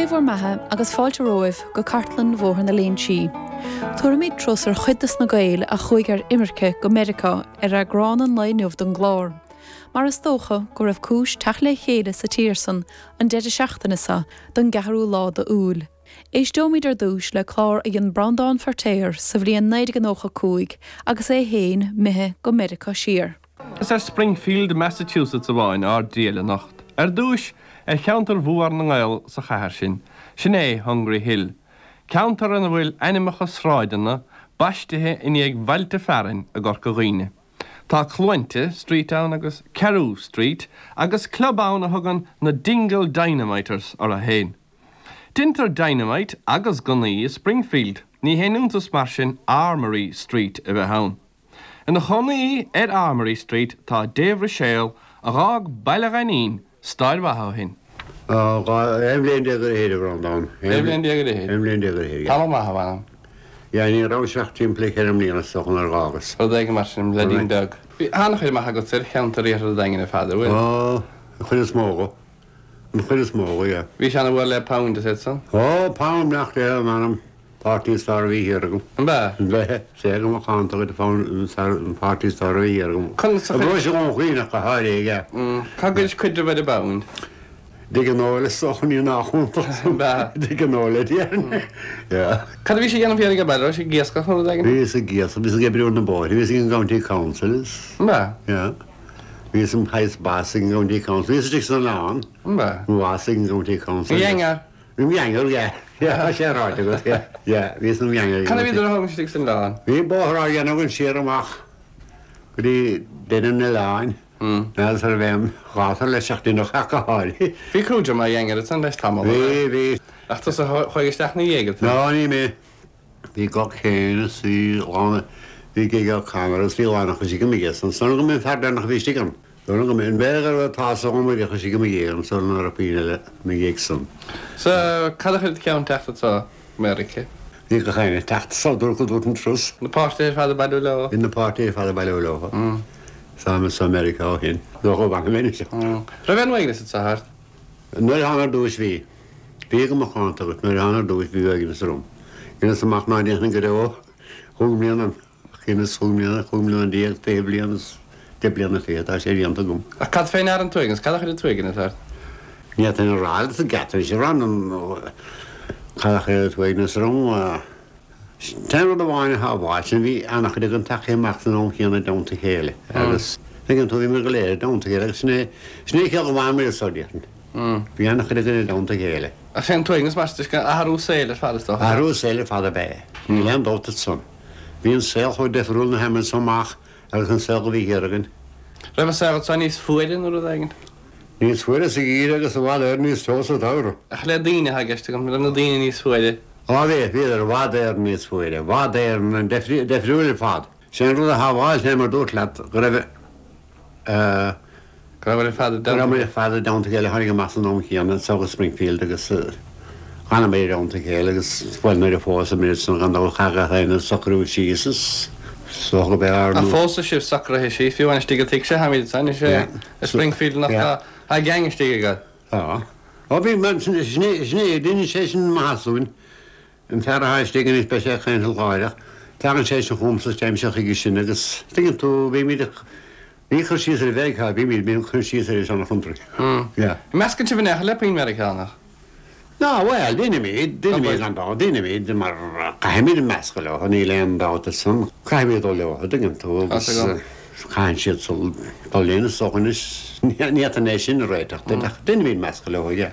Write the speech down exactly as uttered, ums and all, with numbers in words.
Sé bhur mbeatha agus fáilte romhaibh go cartlann Bhóthar na Léinsí. Tabharfaimid turas ar chuid de na Gaeil a chuaigh ar imirce go Meiriceá ar eagrán an lae inniu den gclár. Mar is dócha go raibh cúis teacht le chéile sa tír san an deireadh seachtaine seo don gceathrú lá d'Iúil. Éisteoimid ar dtús le clár a dhein Breandán Feirtéar sa bhliain naoi déag nócha cúig agus é féin imithe go Meiriceá siar. Is ar Springfield, Massachusetts amháin ár dtriall anocht. Ar dtús ar cheantar mhór na nGael sa chathair sin, sin é Hungry Hill. Ceantar ina bhfuil ainmneacha sráideanna baistithe i ndiaidh bhailte fearainn i gCorca Dhuibhne. Tá Cluainte Street ann agus Carew Street agus club ann a thugann na Dingle Dynamiters orthu féin. Déantar dynamite agus gunnaí i Springfield, ní haon iontas mar sin Armory Street a bheith ann. Ina chónaí ar Armory Street tá Dave Ruiséal a d'fhág Baile Ghainín stair mhaith ó shin. Aon bhliain déag ar a Bhreandán. Aon bhliain déag ar Aon bhliain déag ar Tá maith bha. Ja ní raibh seach timpeall ceithre bliana so nuair a d'fhágas. Rud éigin mar sin le díon beag. Bhí an-chuid maith agat ar cheantar iarthar an Daingin ar fad bhfuil? Ó an chuid is mó go. An chuid is mó go, yeah. Bhí sé an-mhór le pound is san? Ó pound nach le manam páirtí is fearr a bhí thiar agam. An b'ea? Bheith sé go macánta go an páirtí is fearr a bhí thiar agam. Conas a bhí sé an chuoineach go háirithe aige. Cá gcuid cuid de bheith pound? Dig an óile sochaní nach Dig an óile Cad a bhí sé ag déanamh thiar ag baile sé ag iascach nó rud éigin? Bhí ag iascach, bhí ag oibriú na bóithre, bhí an County Council. An b'ea? Yeah. Bhí an highest boss ag an County Council, bhí istigh san oileán. An b'ea? Boss ag an County Council. Gheangar? Gheangar, yeah. Yeah, sé ráite agat, yeah. Yeah, bhí san gheangar. Cad a bhí a istigh san oileán? Bhí bóthar á dhéanamh an siar amach go dtí deireadh an oileáin. Ná sar bheith gátar le seachtain ó chaáil. Bhí crúide mar gheangar san leis tamall. Bhí bhí. Ach tusa chuaigh isteach ina dhiaidh Ná ní mé. Bhí gach céan is bhí lána bhí gig camera is bhí lána chu go mí san san go mé fear nach bhí an. Dúna go mé bheith tá go mu chu go mé an san ar a píine le mé ag san. So cad a chuir ceann teacht sa Meiriceá? Bhí go chaine teacht sa dúr go dúirt an trus. Na páistí ar fad ag bailiú leo? In na páistí ar fad ag bailiú leo. Tá sa Meiriceá ó shin. Nó go bh mé se. Raibh an uaigneas sa thart? Nuair thána ar dtús bhí. Bhí go macánta agat nuair thána ar dtús bhí uaigneas orm. Ina amach ná déanann go raibh chúig bliana chéanna chúig bliana chúig bliana déag fiche bliain deich bliana fiche tá sé déanta agam. Ach cad féin ar an t-uaigneas, cad a chuir an t-uaigneas ort? Ní an rá sa gcetar sé ran an cad a chuir an t-uaigneas orm Ten rud amháin a bháil sin bhí an-chuid an tacha amach san am chéanna i dteannta chéile agus ag an tú bhí mar go léir i dteannta chéile agus sin é sin é chéad bhain mé sa déan. Bhí an-chuid i dteannta chéile. Ach sé an t-uaigneas mar athrú saoil ar fad is dócha. Athrú saoil ar fad ab ea. Níl aon dabht ansan. Bhí an saol chomh difriúil na haimeann amach agus an saol go bhí thiar againn. Raibh an saol seo níos fuaire nó rud éigin? Níos fuaire sa gheimhreadh agus i bhfad Éireann níos teo sa tsamhradh. Ach le daoine atá i gceist agam, raibh na daoine níos fuaire. Á bhí, bhíodar i bhfad Éireann níos fuaire, i bhfad Éireann difriúil ar fad. Sé an rud a shábháil sé mar dúirt leat go raibh Go raibh ar fad go raibh muid ar fad i dteannta chéile tháinig amach san am chéanna so go Springfield agus d'fhanamar i dteannta chéile agus bhuel nuair a phós muid san gan dabht chaith gach éinne socrú síos is so go b'fhearr Ach fós tá sibh socraithe síos, fiú amháin istigh i dtigh se tháimid san is é i Springfield nach tá tá gang istigh agat. Tá. Ó bhí sin sin é duine sé sin mathasúin an fear atá istigh anois beidh sé ag caint gáireach. Tagann sé sin chugam-sa téim se chuige sin agus tuigeann tú bhímid ní chur síos ar Mheiriceá bhímid bíonn chur síos ar an chontraí. Yeah. Meascann sibh in aon chor le puinn Meiriceánach? Ná bhuel déanaimid déanaimid gan dabht déanaimid mar caithfimid meascadh leo níl aon dabht san caithfimid dul leo tuigeann tú agus caitheann siad dul linn is dócha anois ní fhéadfainn é sin a réiteach ach déanaimid meascadh leo yeah.